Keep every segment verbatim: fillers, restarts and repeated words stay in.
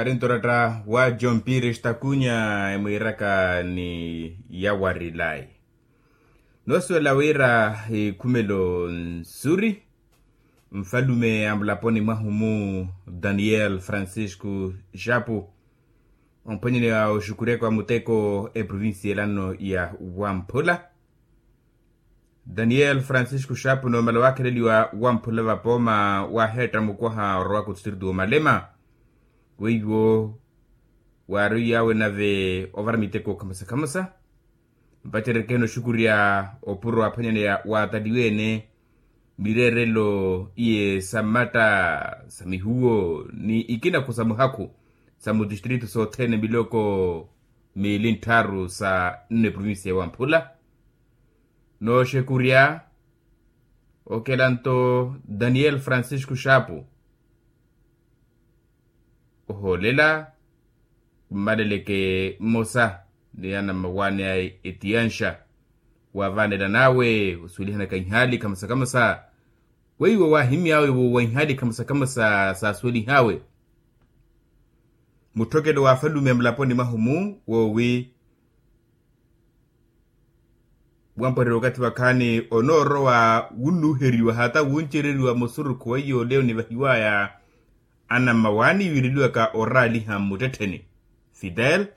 Ari nto oratta wa john pires takunya emwiiraka ni yawarilai. Noosuwela wira ikhumelo nsuri, nfalume a mulaponi mwahu-mu daniel francisco xapu, omphwanyaneya oxukurya kwa muteko eprovincia elano ya wamphula. Daniel francisco xapu noomala waakheleliwa wamphula vapooma waaheetta mukwaha orowaka otistritu woomalema, weiwo waari oyawe nave ovara miteko khamusa khamusa. Mpacereke nooxukurya opuro aphwanyaneya waataliwe-ene mireerelo iye sa mmatta sa mihuwo ni ikinakhu sa muhakhu sa mutistritu sothene miloko miili nttharu sa nne provincia ya wamphula. Nooxekurya okelanto daniel francisco xapu ohoolela mmaleleke mmosa ni anammawaani aye etiyanxa waavanela n'awe osuwelihanaka ihaali khamusa khamusa. Weiwo waahimy'awe woowa ihaali khamusa khamusa saasuwelih'awe mutthokelo w'afalume a mulaponi mwahu-mu woowi wampwarerya okathi vakhaani onoorowa wunnuuheriwa hata wuncereriwa musurukhu weiyo ole onivahiwaya anammawaani wiireliwaka oraaliha mmuttettheni fidel.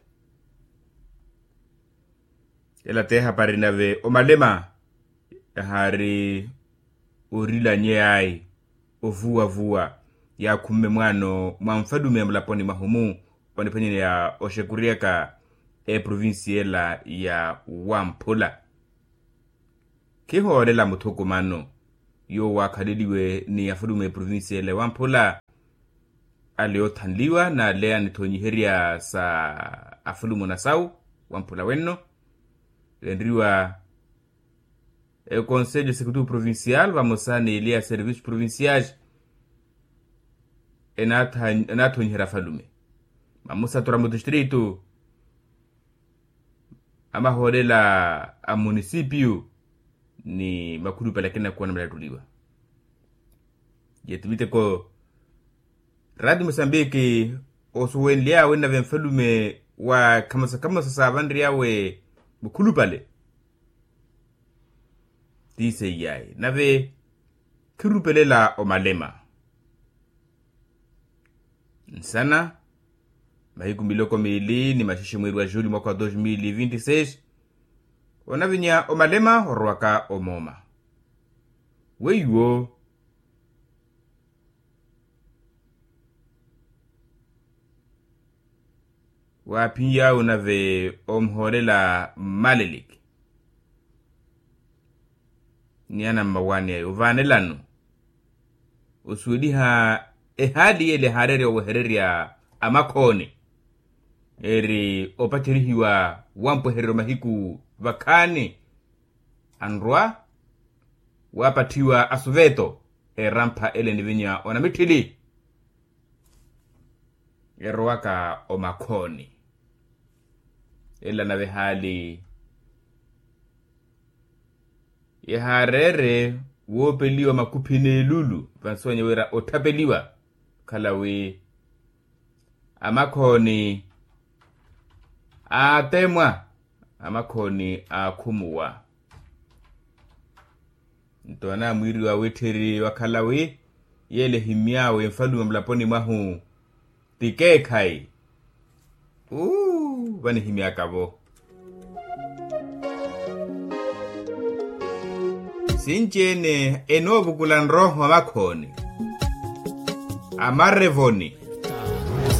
Ela t'ehapari nave omalema yahaari orilanyey'ayi ovuwavuwa yaakhumme mwaano mwa nfalume a mulaponi mwahu-mu oniphwanyaneya oxekuryaka eprovincia ela ya wamphula. Khihoolela muthukumano yowo waakhaleliwe ni afalume eprovincia ela ya wamphula ale yoothanliwa n'ale anithonyiherya sa afalume onasawu wamphula wenno enriwa econselho executivo provincial vamosa n'ele ya serviços provinciais enaathonyiherya afalume mamusatu ra mutistritu amahoolela a munisipio ni makhulupale akina kuwa namalatuliwa. Yetu miteko rati musambiki osuwenly'awe nave nfalume wa khamosa khamosa saavanry'awe mukhulupale. Tiiseiyayi nave khirupelela omalema nsana mahiku miloko miili ni maxexe mwiiri wa juli mwaka wa dos mil vinti seis. Onavinya omalema orowaka omooma weiwo waaphin'yawe onave omuhoolela mmaleliki ni anammawaani aye ovaanelano osuweliha ehaali y'ele ehaareerya owehererya amakhooni eri opacerihiwa wampwehererya omahiku vakhaani anrwa waapatthiwa asuveto erampha ele enivinya onamitthili erowaka omakhooni. Ela nave ehaali yahaareere woopeliwa makuphi n'elulu vansuwanya wira otthapeliwa okhala wi amakhooni aatemwa amakhooni aakhumuwa. Nto anaamwiiriwa witthiri wakhala wi yeele ehimmy'awe nfalume mulaponi mwahu ti keekhayi. Uu vanihimy'aka-vo sinci-ene enoovukula nroho amakhooni amarevoni